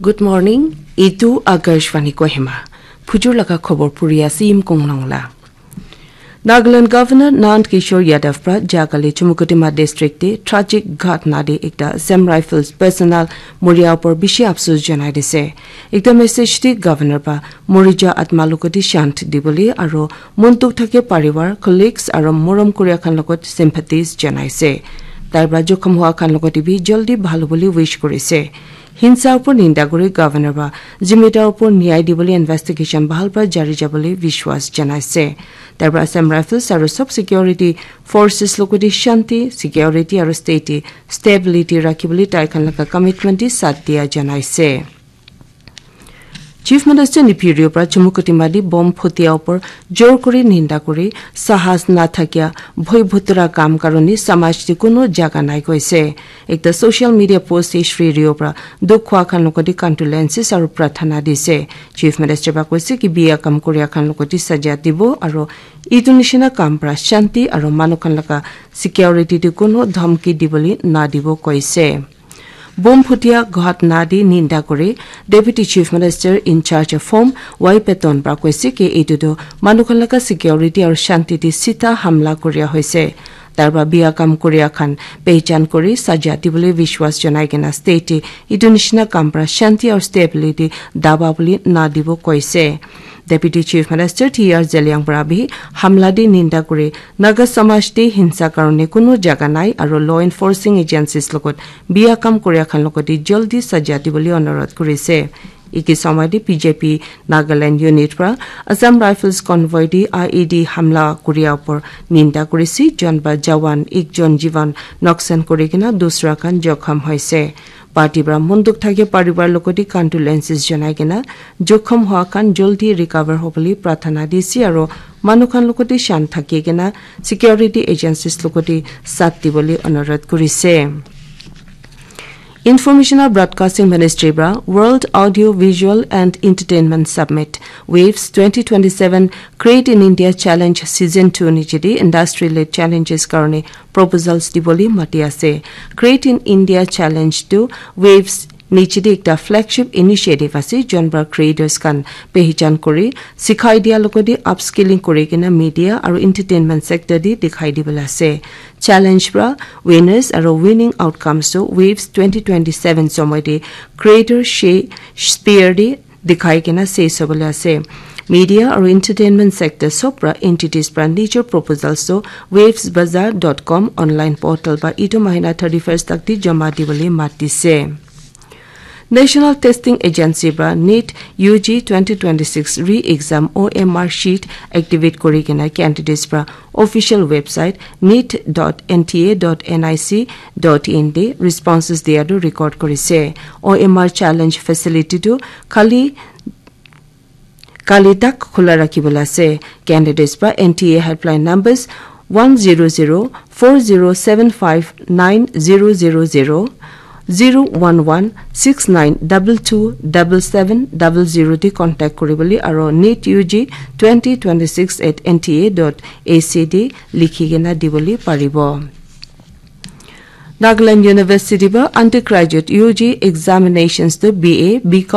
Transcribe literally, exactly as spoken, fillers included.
Good morning. Itu Akashvani Kohima. Phujur laga khobor puri ase Yimkong Longla. Nagaland Governor Nand Kishore Yadav pra jakali Chumukedima district te tragic ghatna te ekta Assam Rifles personnel moria upor bishi afsus janai dise. Ekta message te Governor pra morija atma logote shant dibole aro mon dukh thake parivar, colleagues aro morom kuria khan logot sympathies janaise. Tai pra jokhom hua khan logote bi jaldi bhal hobole wish kurise. Hinsa upor ninda kuri Governor pra zimedar upor nyai dibole investigation bhal pra jari jabole vishwas janaise. Tai pra Assam Rifles aro sub security forces logote shanti, security aro state stability rakhibole tai khan laga commitment te sath dia janaise. Chief Minister Neiphiu Rio pra Chumukedima te bomb phutia upor jor kuri ninda kuri sahas na thakia bhoi bhutra kam karone samaj te kuno jaga nai koise. Ekta social media post te Shri Rio pra dukh khwa khan logote condolences aro prarthana dise. Chief Minister pra koise ki biya kam kuria khan logote saja dibo aro itu nishina kam pra shanti aro manu khan laga security te kuno dhamki dibole na dibo koise. Bomb phutia ghatna te ninda kuri Deputy Chief Minister in charge of Home Y Patton pra koise ki etu tu manu khan laga security aru shanti te sita hamla kuria hoise. Tar pra biya kam kuria khan pehchan kuri saja dibole vishwas janai kena state te etu nishina kam pra shanti aru stability daba bole na dibo koise. Deputy Chief Minister T R Zeliang pra bi hamla te ninda kuri Naga samaj te hinsa karone kuno jaga nai aru law enforcing agencies logot biya kam kuria khan logote jaldi saja dibole onurodh kurise. Iki somoi te B J P Nagaland unit pra Assam Rifles convoy te I E D hamla kuria upor ninda kurise, jon ba jawan ekjon jivan noksan kuri kena dusra khan jokhom hoise. Party pra mon dukh thake parivar logote condolences janai kena jokhom hua khan jaldi recover hobole prarthana dise aro manu khan logote shan thake kena security agencies logote sath dibole onurodh kurise. Information and Broadcasting Ministry pra World Audio Visual and Entertainment Summit Waves twenty twenty-seven Create in India Challenge Season two niche te industry led challenges karone proposals dibole mati ase. Create in India Challenge tu Waves niche te ekta flagship initiative ase, jon pra creators khan pehchan kuri sikhai dia logote upskilling kuri kena media aru entertainment sector te dikhai dibole ase. Challenge pra winners aru winning outcomes tu Waves twenty twenty-seven somoi te creator she spear te dikhai kena ses hobole ase. Media aru entertainment sector sob pra entities pra nijor proposals tu waves bazaar dot com online portal pra itu mahina thirty-first tak te jama dibole mat dise. National Testing Agency pra NEET U G twenty twenty-six re-exam O M R sheet activate kuri kena candidates pra official website neet dot N T A dot N I C dot in te responses dia tu record kurise. O M R challenge facility tu khali kali tak khula rakhi bole ase. Candidates pra N T A helpline numbers one zero zero four zero seven five nine zero zero zero, zero one one six nine double two double seven double zero te contact kuri bole aro NEET U G twenty twenty-six at N T A dot A C te likhi kena dibole paribo. Nagaland University pra undergraduate U G examinations tu B A, B Com